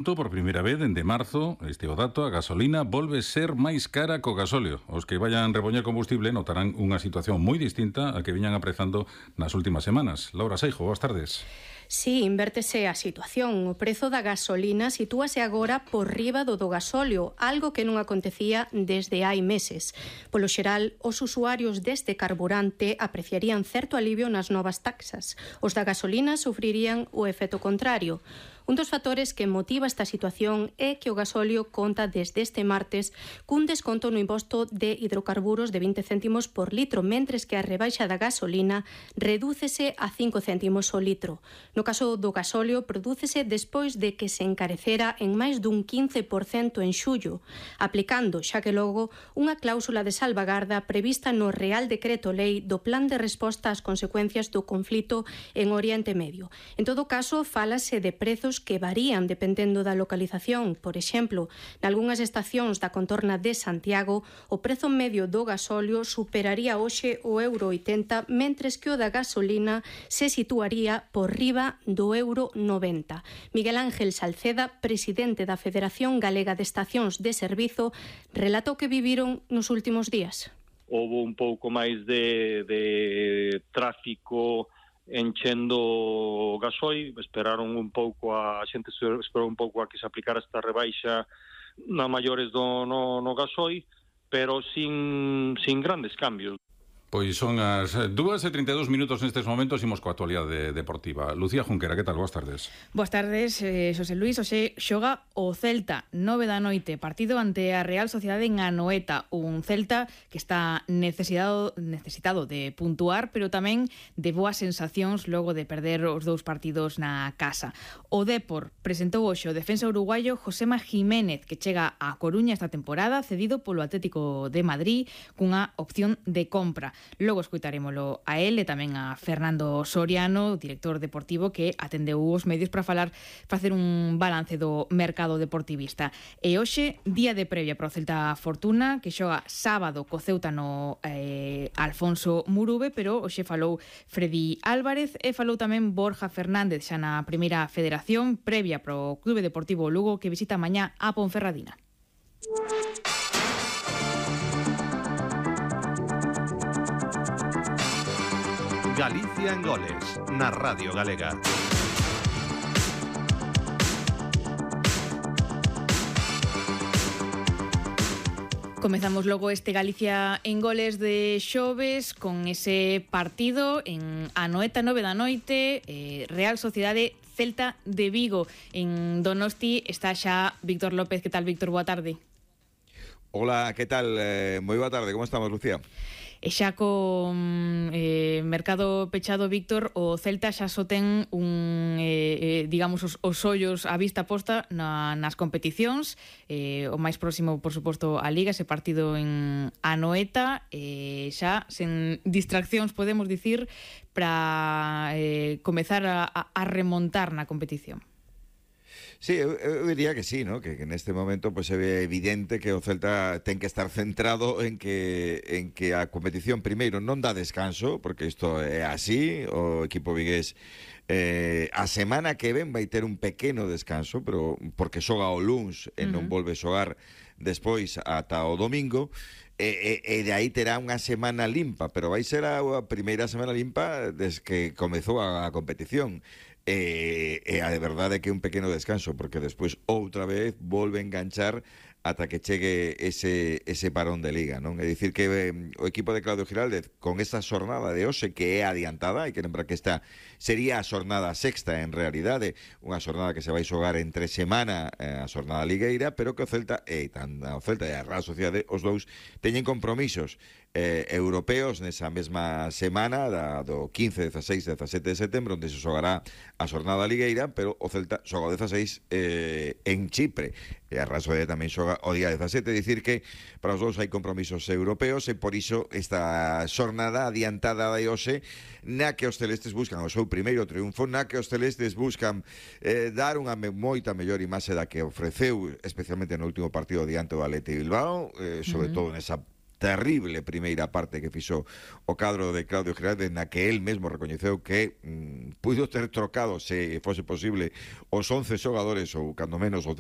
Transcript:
Por primeira vez, dende marzo, este o dato, a gasolina volve ser máis cara co gasóleo. Os que vayan repoñer combustible notarán unha situación moi distinta a que viñan aprezando nas últimas semanas. Laura Seijo, boas tardes. Sí, invértese a situación. O prezo da gasolina sitúase agora por riba do gasóleo, algo que non acontecía desde hai meses. Polo xeral, os usuarios deste carburante apreciarían certo alivio nas novas taxas. Os da gasolina sufrirían o efecto contrario. Un dos factores que motiva esta situación é que o gasóleo conta desde este martes cun desconto no imposto de hidrocarburos de 20 céntimos por litro, mentres que a rebaixa da gasolina redúcese a 5 céntimos o litro. No caso do gasóleo, prodúcese despois de que se encarecera en máis dun 15% en xullo, aplicando, xa que logo, unha cláusula de salvagarda prevista no Real Decreto Lei do Plan de Resposta ás consecuencias do conflito en Oriente Medio. En todo caso, fálase de prezos que varían dependendo da localización. Por exemplo, nalgúnas estacións da contorna de Santiago, o prezo medio do gasóleo superaría hoxe o €80, mentres que o da gasolina se situaría por riba do €90. Miguel Ángel Salceda, presidente da Federación Galega de Estacións de Servizo, relata o que viviron nos últimos días. Houve un pouco máis de tráfico enchendo o gasoil, esperaron un pouco a xente esperou un pouco a que se aplicara esta rebaixa na maiores no gasoil, pero sin grandes cambios. Pois son as 2:32 nestes momentos, imos coa actualidade deportiva. Lucía Junquera, que tal? Boas tardes. Boas tardes, Xosé Luís. Hoxe xoga o Celta, 9 da noite, partido ante a Real Sociedade en Anoeta, un Celta que está necesitado de puntuar, pero tamén de boas sensacións logo de perder os dous partidos na casa. O Dépor presentou hoxe o defensa uruguayo Josema Jiménez, que chega a Coruña esta temporada, cedido polo Atlético de Madrid cunha opción de compra. Logo escoitarémolo a él e tamén a Fernando Soriano, director deportivo, que atendeu os medios para facer un balance do mercado deportivista. E hoxe, día de previa para o Celta Fortuna, que xoga sábado co Ceuta no Alfonso Murube, pero hoxe falou Freddy Álvarez e falou tamén Borja Fernández xa na primeira federación previa para o Clube Deportivo Lugo, que visita mañá a Ponferradina. Galicia en goles, na Radio Galega. Comezamos logo este Galicia en goles de xoves con ese partido en Anoeta, 9 da noite, Real Sociedade Celta de Vigo. En Donosti está xa Víctor López. Que tal, Víctor? Boa tarde. Hola, que tal? Moi boa tarde, como estamos, Lucía? E xa con mercado pechado, Víctor, o Celta xa só ten digamos, os ollos a vista posta nas competicións. O máis próximo, por suposto, a Liga, ese partido en Anoeta, xa sen distraccións, podemos dicir, para comezar a remontar na competición. Sí, eu diría que sí, ¿no? Que neste momento pues, se ve evidente que o Celta ten que estar centrado en que a competición primeiro non dá descanso, porque isto é así. O equipo vigués a semana que ven vai ter un pequeno descanso, pero porque xoga o luns e non volve xogar despois ata o domingo, e de aí terá unha semana limpa, pero vai ser a primeira semana limpa desde que comezou a competición. A de verdade que un pequeno descanso, porque despois outra vez volve a enganchar ata que chegue ese parón de Liga, non? É dicir que o equipo de Claudio Giraldez con esta xornada de hoxe, que é adiantada, hai que lembrar que esta sería a xornada sexta en realidade, unha xornada que se vai xogar entre semana, a xornada ligueira, pero que o Celta e a Real Sociedade, os dous teñen compromisos europeos nesa mesma semana do 15, 16, 17 de setembro, onde se xogará a xornada ligueira, pero o Celta xoga o 16 en Chipre, e a Real Sociedade tamén xoga o día 17, dicir que para os dous hai compromisos europeos, e por iso esta xornada adiantada de hoxe, na que os celestes buscan o seu primeiro triunfo, na que os celestes buscan dar unha moita mellor imaxe da que ofreceu, especialmente no último partido diante do Athletic Bilbao, sobre todo nesa terrible primeira parte que fixo o cadro de Claudio Gerardes, na que él mesmo recoñeceu que puido ter trocado, se fose posible, os 11 xogadores ou cando menos os